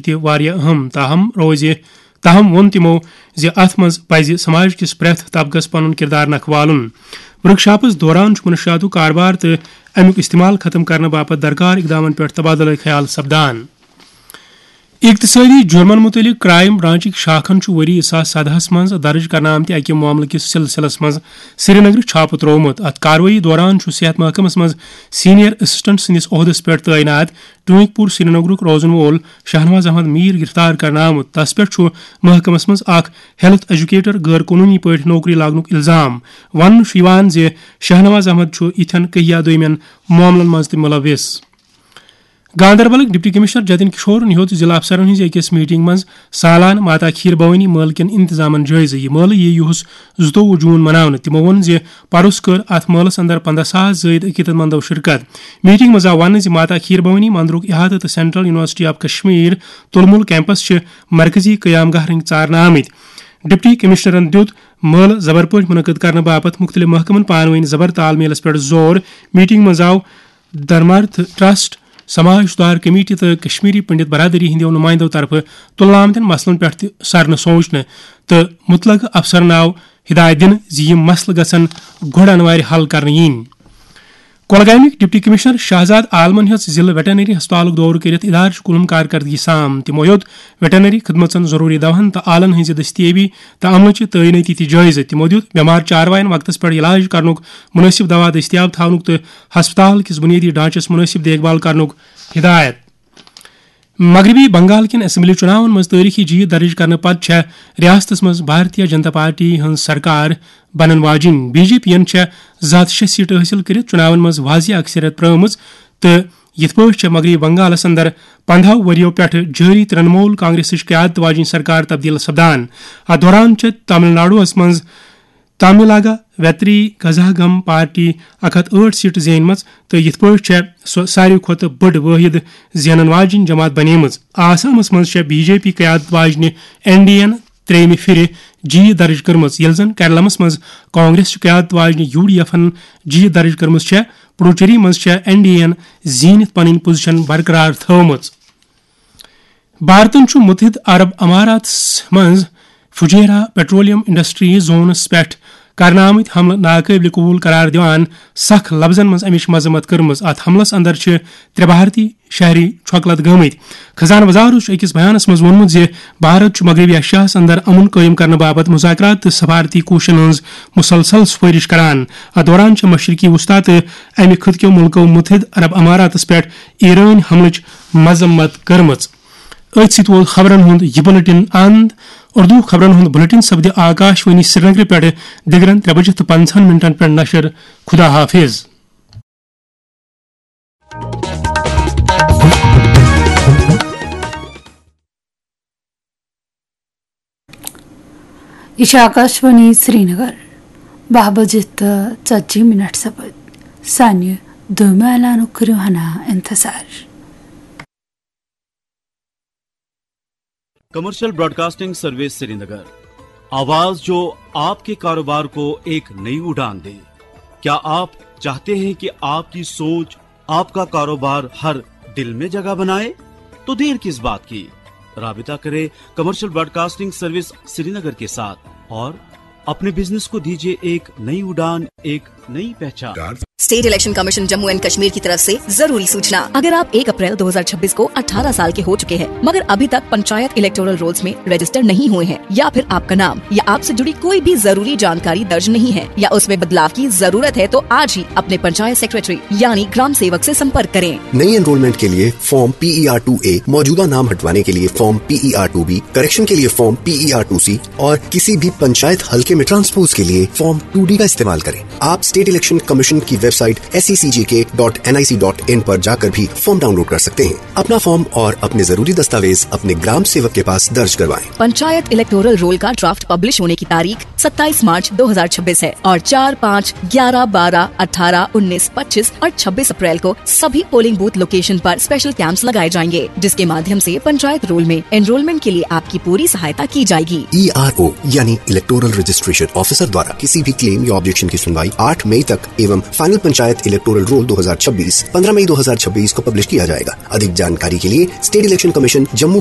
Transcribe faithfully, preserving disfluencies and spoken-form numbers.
تہِ واریاہ اہم، تاہم روزِ تاہم ووٚن تِمو زِ اتھ منٛز پزِ سماج کِس پرٛٮ۪تھ طبقس پنُن کردار نکھٕ والُن۔ ورکشاپس دوران چھُ منشیاتُک کاربار تہٕ امیُک استعمال ختم کرنہٕ باپتھ درکار اقدامن پٮ۪ٹھ تبادلہٕ خیال سپدان۔ اقتصٲدی جرمن متعلق کرائم برانچٕکۍ شاخن چھُ ؤری زٕ ساس سدہَس منٛز درج کرنہٕ آمتہِ اَکہِ معاملہٕ کِس سلسلس منٛز سرینگرٕ چھاپہٕ تروومُت۔ اتھ کاروٲیی دوران چھُ صحت محکمس منٛز سینئر اسسٹنٹ سٕنٛدِس عہدس پٮ۪ٹھ تعینات ٹوینک پور سرینگرُک روزن وول شاہنواز احمد میر گرفتار کرنہٕ آمُت۔ تس پٮ۪ٹھ چھُ محکمس منٛز اکھ ہیلتھ ایجوکیٹر غٲر قونوٗنی پٲٹھۍ نوکری لاگنُک الزام۔ وننہٕ چھُ یِوان زِ شاہنواز احمد چھُ یِتھٮ۪ن کہیا دوٚیمٮ۪ن معاملن منٛز تہِ ملوث۔ گاندربلٕکۍ ڈپٹی کمشنر جتن کشورن ہیوٚت ضلع افسرن ہٕنٛزِ أکِس میٹنگ منٛز سالانہٕ ماتا کھیٖر بھوانی مٲلہٕ کٮ۪ن انتظامن جٲیزٕ۔ یہِ مٲلہٕ یِیہِ یُہُس زٕتووُہ جون مناونہٕ۔ تِمو ووٚن زِ پروس کٔر اتھ مٲلس اندر پندہ ساس زٲید عقیدت مندو شرکت۔ میٹنگ منٛز آو وننہٕ زِ ماتا کھیٖر بھوانی مندرُک احاطہٕ تہٕ سینٹرل یونیورسٹی آف کشمیر تُلمُل کیمپس چھِ مرکزی قیام گاہ رٔنگۍ ژارنہٕ آمٕتۍ۔ ڈپٹی کمشنرن دیُت مٲلہٕ زبر پٲٹھۍ منعقد کرنہٕ باپتھ مُختٔلِف محکمن پانہٕ ؤنۍ زبر تال میلس پٮ۪ٹھ زور۔ میٹنگ منٛز آو دھرمارتھ ٹرسٹ، سماج سدھار کمیٹی تہٕ کشمیری پنڈت برادری ہٕنٛدیو نمائندو طرفہٕ تُلنہٕ آمتٮ۪ن مسلن پٮ۪ٹھ تہِ سرنہٕ سوچنہٕ تہٕ متعلقہٕ افسرن آو ہدایت دِنہٕ زِ یِم مسلہٕ گژھن گۄڈٕ انوارِ حل کرنہٕ یِنۍ۔ کۄلگامٕکۍ ڈپٹی کمشنر شہزاد عالمن ہیٚژ ضلع ویٹرنری ہسپتالُک دورٕ کٔرِتھ ادارٕچ کُلہُم کارکردگی سام۔ تِمو ہیوٚت ویٹرنری خدمژن ضروری دوہن تہٕ آلن ہٕنٛزِ دستیٲبی تہٕ عملٕچہِ تعینٲتی تہِ جٲیزٕ۔ تِمو دیُت بٮ۪مار چاروایَن وقتس پٮ۪ٹھ علاج کرنُک، مناسب دوا دٔستیاب تھاونُک تہٕ ہسپتال کِس بنیٲدی ڈھانچس مناسب دیکھ بھال کرنُک ہدایت۔ مغربی بنگال کٮ۪ن اسمبلی چُناون منٛز تٲریخی جیت درج کرنہٕ پتہٕ چھےٚ ریاستس منٛز بھارتیہ جنتا پارٹی ہٕنٛز سرکار بنن واجِنۍ۔ بی جے پی ین چھےٚ زٕ ہتھ شےٚ سیٹہٕ حٲصِل کٔرِتھ چُناون منٛز واضح اکثریت پرٲومٕژ تہٕ یِتھ پٲٹھۍ چھےٚ مغربی بنگالس اندر پندہو ؤرِیو پٮ۪ٹھٕ جٲری ترنمول کانگریسٕچ قیادت واجِنۍ سرکار تبدیل سپدان۔ اتھ دوران چھےٚ تامل ناڈوہس منٛز تاملناگا ویتری گزاگم پارٹی اکھ ہتھ ٲٹھ سیٹہٕ زینمٕژ تہٕ یِتھ پٲٹھۍ چھےٚ سۄ ساروی کھۄتہٕ بٔڑ وٲحد زینن واجِنۍ جماعت بنیمٕژ۔ آسامس منٛز چھےٚ بی جے پی قیادت واجنہِ این ڈی اے ین ترٛیٚیمہِ پھِرِ جیت درج کٔرمٕژ، ییٚلہِ زن کیرلمس منٛز کانگریس چہِ قیادت واجنہِ یو ڈی ایفن جیت درج کٔرمٕژ چھےٚ۔ پڈوچیری منٛز چھےٚ این ڈی اے ین زیٖنِتھ پنٕنۍ پوزیشن برقرار تھٲومٕژ۔ بھارتن چھُ متحدہ عرب اماراتس منٛز فجیرہ پیٹرولیم انڈسٹریز زونس پٮ۪ٹھ کرنہٕ آمٕتۍ حملہٕ ناقٲبلِ قبول قرار دِوان سخ لفظن منٛز امِچ مذمت کٔرمٕژ۔ اتھ حملس اندر چھِ ترٛےٚ بھارتی شہری چھۄکہٕ لد گٔمٕتۍ۔ خزانہٕ وزارت چھُ أکِس بیانس منٛز ووٚنمُت زِ بھارت چھُ مغربی ایشیاہس اندر امن قٲیِم کرنہٕ باپتھ مذاکرات تہٕ سفارتی کوٗششن ہٕنٛز مسلسل سفٲرش کران۔ اتھ دوران چھِ مشرقی وسطی تہٕ امہِ خطہٕ کیو ملکو متحدہ عرب اماراتس پٮ۪ٹھ ایرٲنۍ حملٕچ مذمت کٔرمٕژ۔ أتھۍ سۭتۍ ووت خبرن ہُنٛد یہِ بُلٹن اند۔ اردو خبرن ہُنٛد بُلٹن سپدِ آکاش وانی سرینگرٕ پٮ۪ٹھ دِگرن ترٛےٚ بجہِ تہٕ پنٛژاہن منٹن پٮ۪ٹھ نشر۔ خدا حافظ۔ یہِ چھِ آکاشوانی سرینگر۔ باہ بجے تہٕ ژتجی منٹ سپٕدۍ۔ سانہِ دوٚیمہِ اعلانُک کٔرِو ہنا انتظار۔ کمرشل براڈکاسٹنگ سروس سرینگر، آواز جو آپ کے کاروبار کو ایک نئی اڑان دے۔ کیا آپ چاہتے ہیں کہ آپ کی سوچ، آپ کا کاروبار ہر دل میں جگہ بنائے؟ تو دیر کس بات کی، رابطہ کریں کمرشل براڈکاسٹنگ سروس سرینگر کے ساتھ اور اپنے بزنس کو دیجیے ایک نئی اڑان، ایک نئی پہچان۔ State election commission Jammu and Kashmir کی طرف سے ضروری سوچنا۔ اگر آپ ایک اپریل دو ہزار چھبیس کو اٹھارہ سال کے ہو چکے ہیں مگر ابھی تک پنچایت الیکٹورل رولز میں رجسٹر نہیں ہوئے ہیں یا پھر آپ کا نام یا آپ سے جڑی کوئی بھی ضروری جانکاری درج نہیں ہے یا اس میں بدلاو کی ضرورت ہے تو آج ہی اپنے پنچایت سیکرٹری یعنی گرام سیوک سے سمپرک کریں۔ نئی انرولمنٹ کے لیے form P E R two A, मौजूदा नाम हटवाने के लिए form P E R two B, correction के लिए form P E R two C और किसी भी पंचायत हल्के में ट्रांसपोज के लिए फॉर्म टू डी का इस्तेमाल करें। आप स्टेट इलेक्शन कमीशन की website S E C G K dot N I C dot in पर जाकर भी फॉर्म डाउनलोड कर सकते हैं। अपना फॉर्म और अपने जरूरी दस्तावेज अपने ग्राम सेवक के पास दर्ज करवाएं। पंचायत इलेक्टोरल रोल का ड्राफ्ट पब्लिश होने की तारीख सत्ताईस मार्च दो हज़ार छब्बीस है और चार, पाँच, ग्यारह, बारह, अठारह, उन्नीस, पच्चीस और छब्बीस अप्रैल को सभी पोलिंग बूथ लोकेशन पर स्पेशल कैंप्स लगाए जाएंगे, जिसके माध्यम से पंचायत रोल में एनरोलमेंट के लिए आपकी पूरी सहायता की जाएगी। E R O यानी इलेक्टोरल रजिस्ट्रेशन ऑफिसर द्वारा किसी भी क्लेम या ऑब्जेक्शन की सुनवाई आठ मई तक एवं फाइनल पंचायत इलेक्टोरल रोल दो हज़ार छब्बीस पन्द्रह मई दो हज़ार छब्बीस को पब्लिश किया जाएगा। अधिक जानकारी के लिए स्टेट इलेक्शन कमीशन जम्मू